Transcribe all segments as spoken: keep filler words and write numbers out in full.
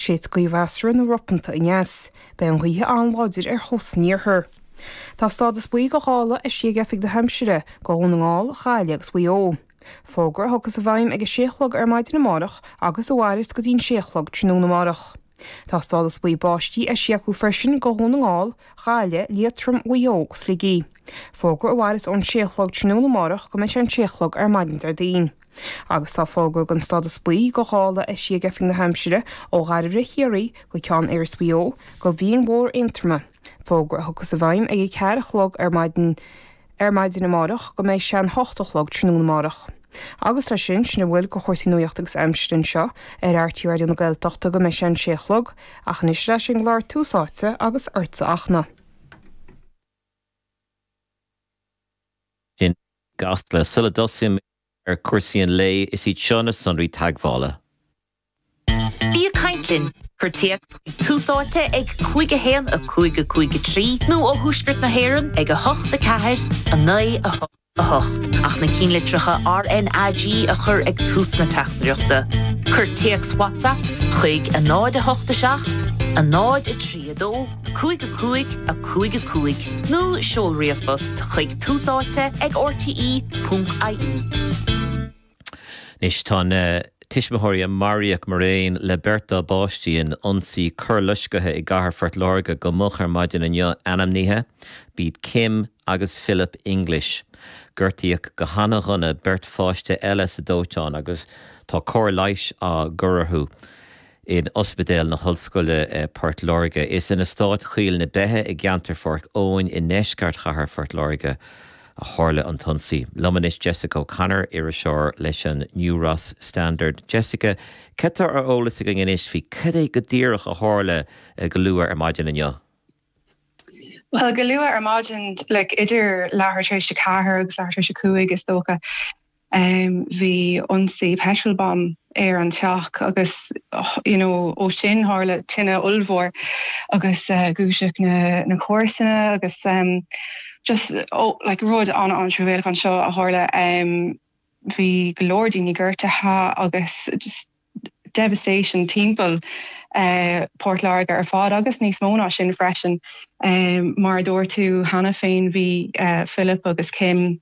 Séidfidh gaoth mheasartha nó ropanta aneas. Beidh an ghaoth an-láidir ar chósta an iarthair. Tá stádas buí do ghála eisithe ag Oifig na hAimsire do Dhún na nGall, Gaillimh agus Mhaigh Eo. Fógra a thiocfas i bhfeidhm ag a sé a chlog ar maidin amárach agus a mhairfeas go dtí an sé a chlog tráthnóna amárach. Tá stádas buí báistí eisithe acu freisin do Dhún na nGall, Gaillimh, Liatroim, Mhaigh Eo agus Shligigh. Fógra a mhairfeas ón sé a chlog tráthnóna amárach go mbeidh sé an sé a chlog ar maidin Déardaoin. Agus tá fógra den stádas buí do ghála eisithe ag Oifig na hAimsire ó Dhairbhre Chiarraí go Ceann Iorrais Mhaigh Eo go Bhinn Mhór Aontroma. Fógra a thiocfas i bhfeidhm ag a ceathair a chlog ar maidin ar maidin amárach go mbeidh sé an hocht a chlog tráthnóna amárach. Agus leis sin, sin a bhfuil de chúrsaí nuachta agus aimsire anseo ar RTÉ Raidió na Gaeltachta go mbeidh sé an sé a chlog, ach anois ar ais ag an gclár Tús Áite agus ortsa a Fhachtna. I gCasla sula dtosaím ar chúrsaí an lae is iad seo na sonraí teagmhála. Bí ag caint linn. Cuir téacs chuig Tús Áite ag cúig a haon a cúig a cúig a trí nó ó Thuaisceart na hÉireann ag a hocht a ceathair a naoi a hocht a hocht ach na cinnlitreacha RNAG a chur ag tús na teachtaireachta. Cuir téacs WhatsApp chuig a náid a hocht a seacht, a náid a trí a dó, cúig a cúig a cúig a cúig nó seol ríomhphost chuig túsáite ag rte ponc ie. Anois tá na tuismitheoirí a maraíodh mar aon le beirt dá bpáistí in ionsaí coirloiscthe i gcathair Phort Láirge go moch ar maidin inniu ainmnithe, b'iad Kim agus Philip English. Gortaíodh go hana-dhona beirt pháiste eile sa dóiteán agus tá cóir leighis á cur orthu in Ospidéal na hOllscoile Port Láirge. Is in eastát Choill na Beithe i gceantar Pháirc Eoin i ndeisceart chathair Phort Láirge a tharla an t-ionsaí. Liom anois Jessica O'Connor, iriseoir leis an New Ross Standard. Jessica, cad tá ar eolas againn anois faoi cad é go díreach a tharla go luath ar maidin inniu? Well go luath ar maidin like, idir leathuair tar éis a ceathair agus leathuair tar éis a cúig is dócha um, bhí ionsaí petrol bomb ar an teach agus you know, ó sin tharla tine ollmhór agus uh, dhúisigh na, na comharsana agus um, just oh, like, rud an an-truamhéalach anseo a tharla um, bhí go leor daoine gortaithe agus just devastation timpeall uh, Port Láirge ar fad agus níos mó ná sin freisin um, mar dúirt tú cheana féin bhí uh, Philip agus Kim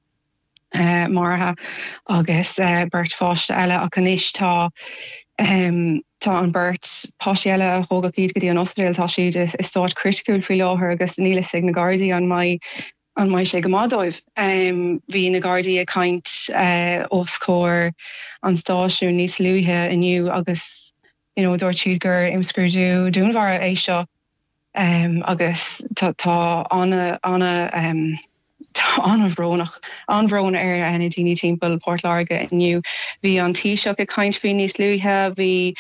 uh, maraithe agus uh, beirt pháiste eile ach anois tá um, tá an beirt páistí eile a thógadh iad go dtí an ospidéal tá siad i stát criticiúil faoi láthair agus níl a fhios ag na Gardaí an mbeidh an mbeidh sé go maith dóibh. Um, bhí na Gardaí ag caint uh, os comhair an stáisiún níos luaithe inniu agus you know, dúirt siad gur imscrúdú dúnmharú é seo um, agus tá tá ana ana um, tá an-bhrónach an-bhrón ar na daoine timpeall Port Láirge inniu. Bhí an Taoiseach ag caint faoi níos luaithe, bhí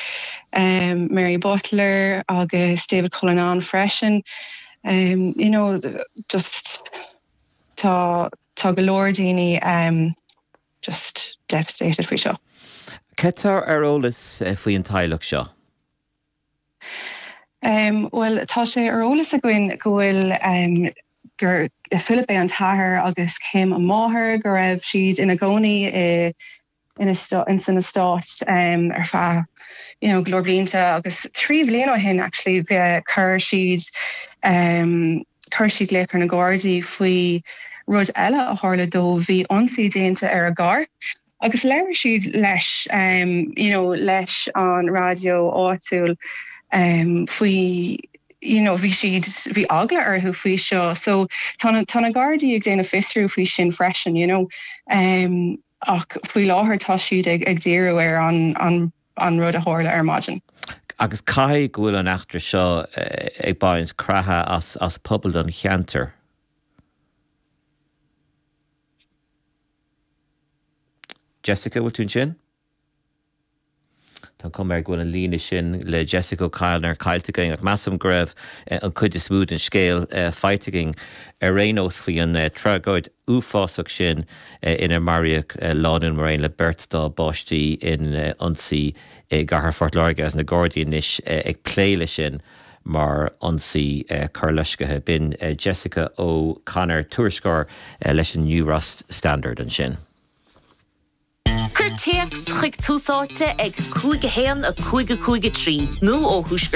um, Mary Butler agus David Cullinane freisin. Um, you know, just tá tá go leor daoine um, just devastated faoi seo. Cad tá ar eolas faoi an teaghlach seo? Um, well tá sé ar eolas againn go bhfuil um, gur Philip é an t-athair agus Kim an mháthair go raibh siad ina gcónaí i in in san eastát um, ar feadh you know, go leor blianta agus trí bhliain ó shin actually bhí chuir siad um, chuir siad glaoch ar na Gardaí faoi rud eile a tharla dóibh bhí ionsaí déanta ar a gcarr. Agus labhair siad leis um, you know, leis an raidió áitiúil um, faoi you know, bhí siad bhí eagla orthu faoi seo, so tá tá na Gardaí ag déanamh fiosrú faoi sin freisin, you know. Um, ach faoi láthair tá siad ag, ag díriú ar an, an, an rud a tharla ar maidin. Agus caithfidh go bhfuil an eachtra seo ag baint creatha as, as pobal an cheantair. Jessica bhfuil tú ansin? Tá cuma air go bhfuil an líne sin le Jessica O'Connor caillte againn ach measaim go raibh an cuid is mó den scéal faighte againn ar aon nós faoi an tragóid uafásach sin inar maraíodh lánúin mar aon le beirt dá bpáistí in ionsaí i gcathair Phort Láirge agus na Gardaí anois ag plé leis sin mar ionsaí coirloiscthe. B'in Jessica O'Connor, tuairisceoir leis an New Ross Standard ansin. Cuir téacs chuig Tús Áite ag cúig a haon a cúig a cúig a trí nó ó thuaisceart